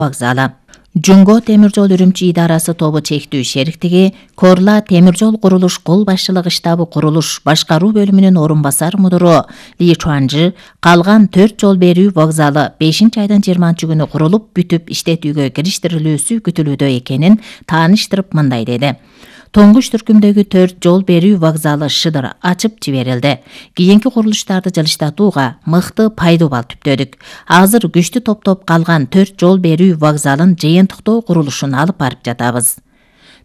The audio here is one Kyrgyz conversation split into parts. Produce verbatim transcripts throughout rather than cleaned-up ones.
вокзалы. Жунго темир жол Үрүмчү идарасы тобу чектүү шериктиги Корла темир жол курулуш кол башчылыгы штабы курулуш башкаруу бөлүмүнүн орун басар мудуру Ли Чуанжы калган төрт жол берүү вокзалы бешинчи айдын жыйырманчы күнү курулуп бүтүп иштетүүгө кириштирилүүсү күтүлүүдө экенин тааныштырып мындай деди. Тоңгуш түркүмдөгү төрт жол берүү вокзалы шыдыр ачып жиберилди. Кийинки курулуштарды жылыштатууга мыкты пайдубал түптөдүк. Азыр күчтүү топтоп калган төрт жол берүү вокзалын жыйынтыктоо курулушун алып барып жатабыз.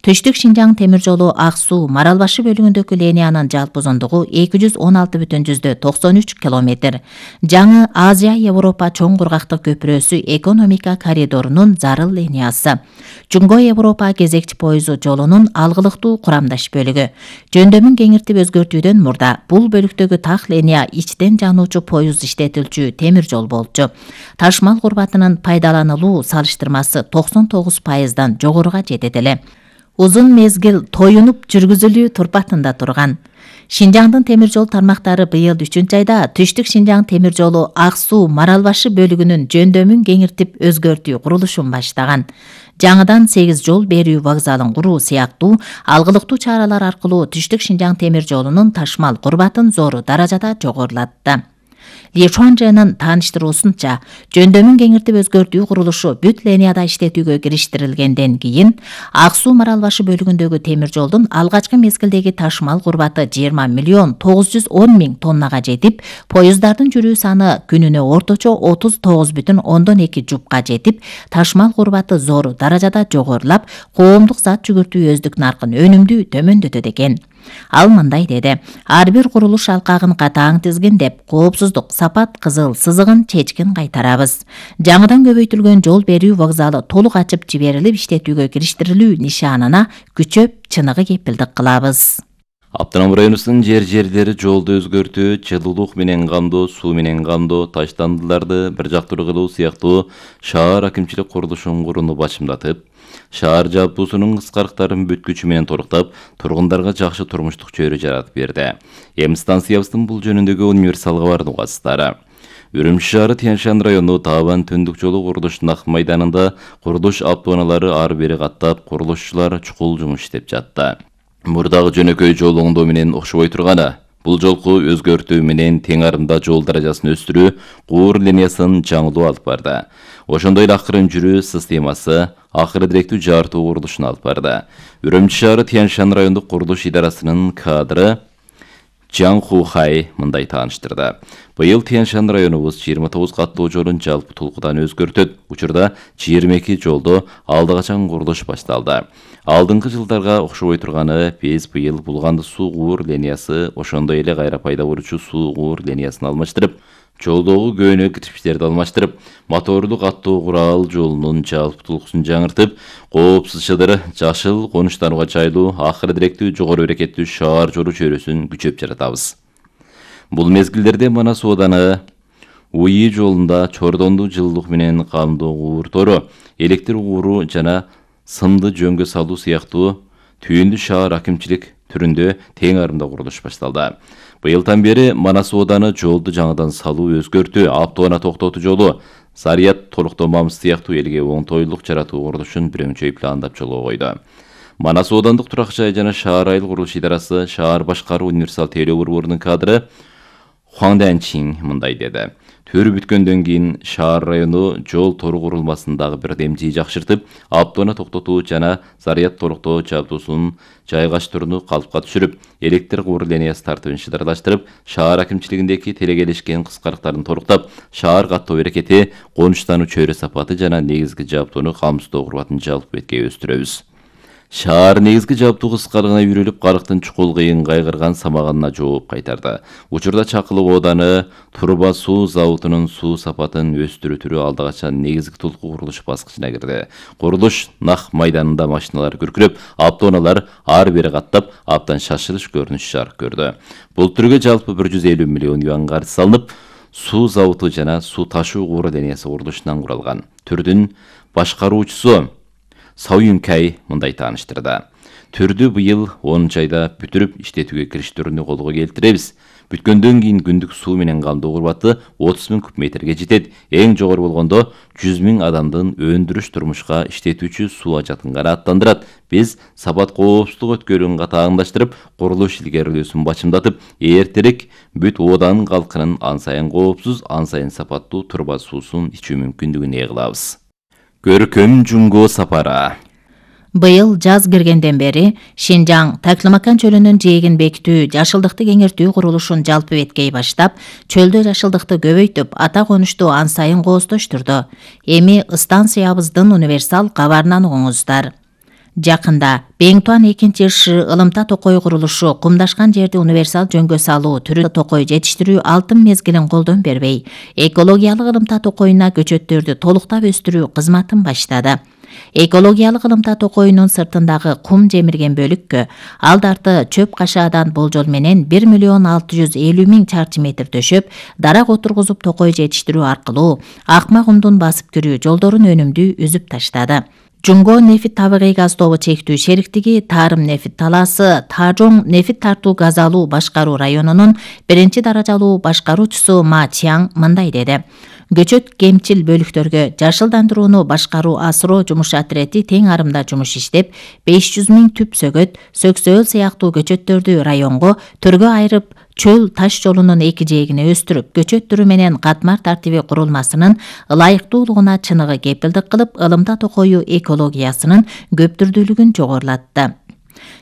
Түштүк Шинжаң темир жолу Ак Суу Марал башы бөлүгүндөгү линиянын жалпы узундугу эки жүз он алты бүтүн токсон үч километр. Жаңы Азия-Европа чоң кургактык көпүрөсү экономика коридорунун зарыл линиясы. Жунго-Европа кезекчи поезу жолунун алгылыктуу курамдаш бөлүгү. Жөндөмүн кеңиртип өзгөртүүдөн мурда бул бөлүктөгү так линия ичтен жануучу поезд иштетилчү темир жол болчу. Ташмал курбатынын пайдаланылуу салыштырмасы токсон тогуз пайыздан жогоруга жетет эле. Узун мезгил тоюнуп жүргүзүлүү турпатында турган. Шинжаңдын темир жол тармактары быйыл үчүнчү айда Түштүк Шинжаң темир жолу Ак Суу Марал башы бөлүгүнүн жөндөмүн кеңиртип өзгөртүү курулушун баштаган. Жаңыдан сегиз жол берүү вокзалын куруу сыяктуу алгылыктуу чаралар аркылуу Түштүк Шинжаң темир жолунун ташмал курбатын зор даражада жогорулатты. Ли Чуанжынын тааныштыруусунча, жөндөмүн кеңиртип өзгөртүү курулушу бүт линияда иштетүүгө кириштирилгенден кийин Ак Суу Марал башы бөлүгүндөгү темир жолдун алгачкы мезгилдеги ташмал курбаты жыйырма миллион тогуз жүз он миң тоннага жетип, поезддардын жүрүү саны күнүнө орточо отуз тогуз бүтүн ондон эки жупка жетип, ташмал курбаты зор даражада жогорулап, коомдук зат жүгүртүү өздүк наркын өнүмдүү төмөндөтөт экен. Ал мындай деди: ар бир курулуш алкагын катаң тизгиндеп, коопсуздук, сапат кызыл сызыгын чечкин кайтарабыз. Жаңыдан көбөйтүлгөн жол берүү вокзалы толук ачып жиберилип иштетүүгө кириштирилүү нишанына күчөп, чыныгы кепилдик кылабыз. Автоном районунун жер-жерлери жолду өзгөртүү, жылуулук менен камдоо, суу менен камдоо, таштандыларды бир жактуу кылуу сыяктуу шаар акимчилик курулушун курууну башымдатып, шаар жалпысынын кыскарыктарын бүткүчү менен торуктап, тургундарга жакшы турмуштук чөйрө жаратып берди. Эми станциябыздын бул жөнүндөгү универсалга бардыгасыздары. Үрүмчү шаары Тянь-Шань району Табан түндүк жолу курулушунун ак майданында курулуш автоунаалары ары бери каттап, курулушчулар чукул жумуш иштеп жатты. Мурдагы жөнөкөй жол оңдоо менен окшобой турганы, бул жолку өзгөртүү менен тең арымда жол даражасын өстүрүү, куур линиясын жаңылоо алып барды. Ошондой эле акырын жүрүү системасы, акыры директүү жартуу курулушун алып барды. Үрүмчү шаары Тянь-Шань райондук курулуш идарасынын кадры Жан Хухай мындай тааныштырды. Быйыл Тянь-Шань районубуз жыйырма тогуз каттуу жолун жалпы толкудан өзгөртөт. Учурда жыйырма эки жолдо алды качан курулуш башталды. Алдыңкы жылдарга окшобой турганы биз быйыл Булганды суу куур линиясы, ошондой эле кайра пайда болчу суу куур линиясын алмаштырып, жолдогу көөнөк кирпичтерди алмаштырып, мотордуу каттуу курал жолунун жалпы толкусун жаңыртып, коопсуз шыдыр, жашыл, конуштанууга жайлуу, акыры директүү жогору берекеттүү шаар жолу чөйрөсүн күчөп жаратабыз. Бул мезгилдерде Манас ооданы УИ жолунда чордондуу жылуулук менен камдоо куур тору, электр кууру жана сымды жөнгө салуу сыяктуу түйүндү шаар акимчилик түрүндө тең арымда курулуш башталды. Быйылдан бери Манас ооданы жолду жаңыдан салуу, өзгөртүү, автоунаа токтотуу жолу, Сарият толуктомамыз сыяктуу элге оңтойлук жаратуу курулушун бирөңчөй пландап жолго койду. Манас оодандык турак жай жана шаар айыл курулуш идарасы шаар башкаруу универсал тейлөө борборунун кадры Хуан Дянчин мындай деди: Төрү бүткөндөн кийин шаар району жол тору курулмасындагы бирдемчи жакшыртып, автоунаа токтотуу жана Сарият толуктоо жабдуусунун жайгаштырууну калыпка түшүрүп, электр куур линиясы тартыбын шыдырлаштырып, шаар акимчилигиндеги телегелешкен кыскарыктарын торуктап, шаар каттоо берекети, конуштануу чөйрө сапаты жана негизги жабдууну камсыздоо курбатын жалпы бетке өстүрөбүз. Шаар негизги жабдуу кыскарыгына үйрөлүп, карыктын чукул кыйын кайгырган самаганына жооп кайтарды. Учурда Чакылык ооданы Турба суу заводунун суу сапатын өстүрүү түрү алда качан негизги толку курулуш баскычына кирди. Курулуш нак майданында машиналар күркүрөп, автоунаалар ары бери каттап, абдан шашылыш көрүнүш жарык көрдү. Бул түргө жалпы бир жүз элүү миллион юан каржы салынып, суу заводу жана суу ташуу куур линиясы курулушунан куралган. Түрдүн башкаруучусу Сауюнкай мындай тааныштырды: Түрдү быйыл онунчу айда бүтүрүп иштетүүгө кириштирүүнү колго келтиребиз. Бүткөндөн кийин күндүк суу менен камдоо курбаты отуз миң куб метрге жетет. Эң жогору болгондо жүз миң адамдын өндүрүш турмушка иштетүүчү суу ажатын канааттандырат. Биз сапат коопсуздук өткөрүүн катааңдаштырып, курулуш илгерилөөсүн бачымдатып, эртерээк бүт Оодань калкынын ан сайын коопсуз, ан сайын сапаттуу турба суусун ичүү мүмкүндүгүн ээ кылабыз. Көркөм Жунго сапары. Быйыл жаз киргенден бери Шинжаң Таклымакан чөлүнүн жээгин бекитүү, жашылдыкты кеңертүү курулушун жалпы беткей баштап, чөлдө жашылдыкты көбөйтүп, ата конушту ан сайын кооздоштурду. Эми станциябыздын универсал кабарынан угуңуздар. Жакында Беңтуан экинчи ШИ ылымта токой курулушу кумдашкан жерди универсал жөнгө салуу, түрү токой жетиштирүү алтын мезгилин колдон бербей, экологиялык ылымта токоюна көчөттөрдү толуктап өстүрүү кызматын баштады. Экологиялык ылымта токоюнун сыртындагы кум жемирген бөлүккө алдарты чөп кашаадан болжол менен бир миллион алты жүз элүү миң чарчы метр төшөп, дарак отургузуп токой жетиштирүү аркылуу акма кумдун басып кирүү жолдорун өнүмдүү үзүп таштады. Жунго нефит табигый газ тобу чектүү шериктиги Тарым нефит талаасы Тажоң нефит тартуу газ алуу башкаруу районунун биринчи даражалуу башкаруучусу Ма Чиаң мындай деди. Көчөт кемчил бөлүктөргө жашылдандырууну башкаруу асыроо жумуш отирети тең арымда жумуш иштеп, беш жүз миң түп сөгөт, сөксөөл сыяктуу көчөттөрдү районго төргө айырып, чөл таш жолунун эки жээгине өстүрүп, көчөт түрү менен катмар тартиби курулмасынын ылайыктуулугуна чыныгы кепилдик кылып, ылымта токою экологиясынын көптүрдүүлүгүн жогорулатты.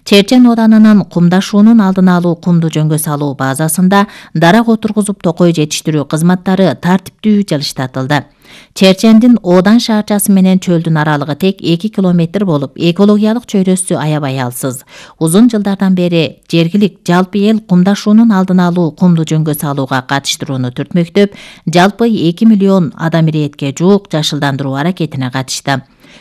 Черчен Оданынын кумдашуунун алдын алуу кумду жөнгө салуу базасында дарак отургузуп токой жетиштирүү кызматтары тартиптүү жылыштатылды. Черчендин Оодань шаарчасы менен чөлдүн аралыгы тек эки километр болуп, экологиялык чөйрөсү аябай алсыз. Узун жылдардан бери жергилик жалпы эл кумдашуунун алдын алуу кумду жөнгө салууга катыштырууну түртмөктөп, жалпы эки миллион адам иретке жуук жашылдандыруу аракетине катышты.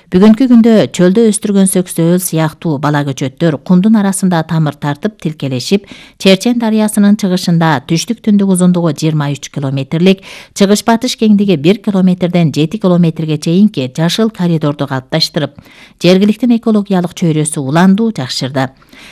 Бүгүнкү күндө чөлдө өстүргөн сөксөөл сыяктуу бала көчөттөр кумдун арасында тамыр тартып тилкелешип, Черчен дарыясынын чыгышында түштүк түндүк узундугу жыйырма үч километрлик, чыгыш батыш кеңдиги бир километрден жети километрге чейинки жашыл коридорду калыпташтырып, жергиликтин экологиялык чөйрөсү уландуу жакшырды.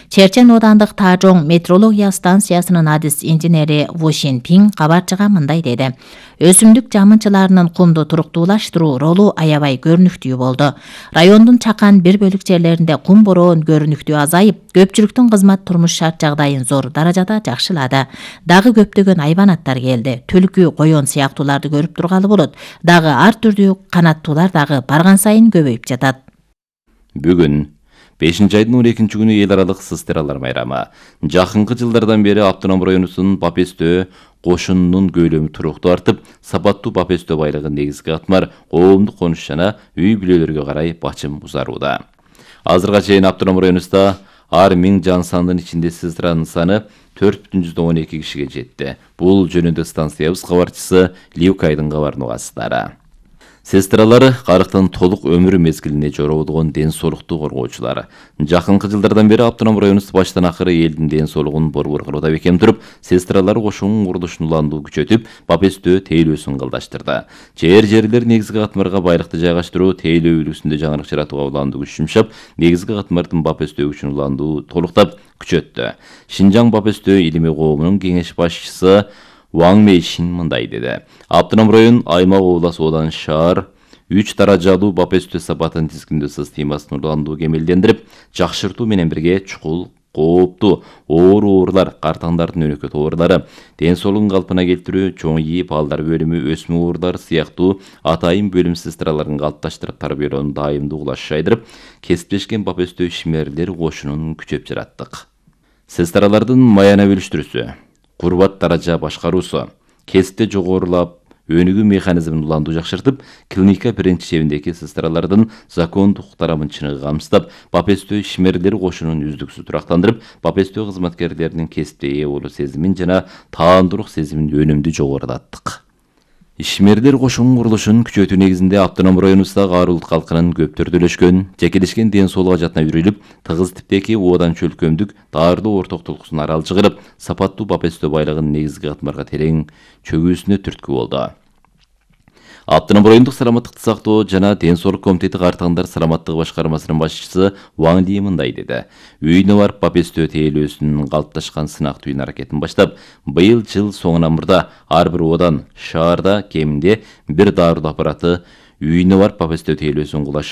Черчен Оодандык Тажоң метрология станциясынын адис инженери Во Шинпин кабарчыга мындай деди. Өсүмдүк жамынчыларынын кумду туруктуулаштыруу ролу аябай көрүнүктүү болду. Райондун чакан бир бөлүк жерлеринде кум бороон көрүнүктүү азайып, көпчүлүктүн кызмат турмуш шарт жагдайын зор даражада жакшылады. Дагы көптөгөн айбанаттар келди. Түлкү, койон сыяктууларды көрүп тургалы болот. Дагы ар түрдүү канаттуулар дагы барган сайын көбөйүп жатат. Бүгүн бешинчи айдын он экинчи күнү эл аралык сыстыралар майрамы. Жакынкы жылдардан бери Автоном районунун Бапестөө кошунунун көйлөмү туруктуу артып, сапаттуу Бапестөө байлыгын негизги катмар коомдук конуш жана үй бүлөлөргө карай бачым узарууда. Азырга чейин Автоном районунда ар миң жан сандын ичинде сыстыранын саны төрт бүтүн жүздөн он эки кишиге жетти. Бул жөнүндө станциябыз кабарчысы Ливкайдын кабарын угасыздар. Сестралары карыктын толук өмүрү мезгилине жоролгон ден соолукту коргоочулар. Жакынкы жылдардан бери Автоном районубуз баштан акыры элдин ден соолугун борбор кылууда бекем туруп, сестралары кошунун курулушун уландуу күчөтүп, Бапестөө тейлөөсүн кылдаштырды. Жер жерлер негизги катмарга байлыкты жайгаштыруу, тейлөө үлгүсүндө жаңырык жаратууга уландуу күч жумшап, негизги катмардын Бапестөө күчүн уландуу толуктап күчөттү. Шинжаң Бапестөө илимий коомунун кеңеш башчысы Ваң Мейшин мындай деди. Автоном район аймак облас Оодань шаар үч даражалуу Бапестөө сапатын тизгиндөө системасын уландуу кемелдендирип, жакшыртуу менен бирге чукул, кооптуу оор оорулар, картаңдардын өнөкөт оорулары, ден соолугун калпына келтирүү, чоң ийи балдар бөлүмү, өсмө оорулары сыяктуу атайын бөлүм сестраларын калыпташтырып тарбиялоону дайымдуу кылаш жайдырып, кесиптешкен Бапестөө ишмерлер кошунун күчөп жараттык. Сестралардын маяна бөлүштүрүүсү, курбат даража башкаруусу, кесипте жогорулап, өнүгүү механизмин уландуу жакшыртып, клиника биринчи чебиндеги сестралардын закондук тарамын чыныгы камсыздап, Бапестөө ишмерлер кошунун үздүксүз турактандырып, Бапестөө кызматкерлеринин кесипте ээ болуу сезимин жана таандуулук сезимин өнүмдүү жогорулаттык. Ишмерлер кошунун курулушун күчөтүү негизинде Автоном районубуздагы ар улут калкынын көп төрдөлөшкөн, жекелешкен ден соолук ажатына үйрөлүп, тыгыз типтеги Оодань чөлкөмдүк таардуу ортоктулуксун арал чыгарып, сапаттуу Бапестөө байлыгын негизги катмарга терең чөгүүсүнө түрткү болду. Автономдук райондук саламаттыкты сактоо жана ден соолук комитети картаңдар саламаттыгы башкармасынын башчысы Ваң Ли мындай деди. Үйүнө барып Попестөө тейлөөсүнүн калыпташкан сынактуу аракетин баштап, быйыл жыл соңунан мурда ар бир одан шаарда кеминде бир дарылуу аппараты үйүнө барып Попестөө тейлөөсүн кулаш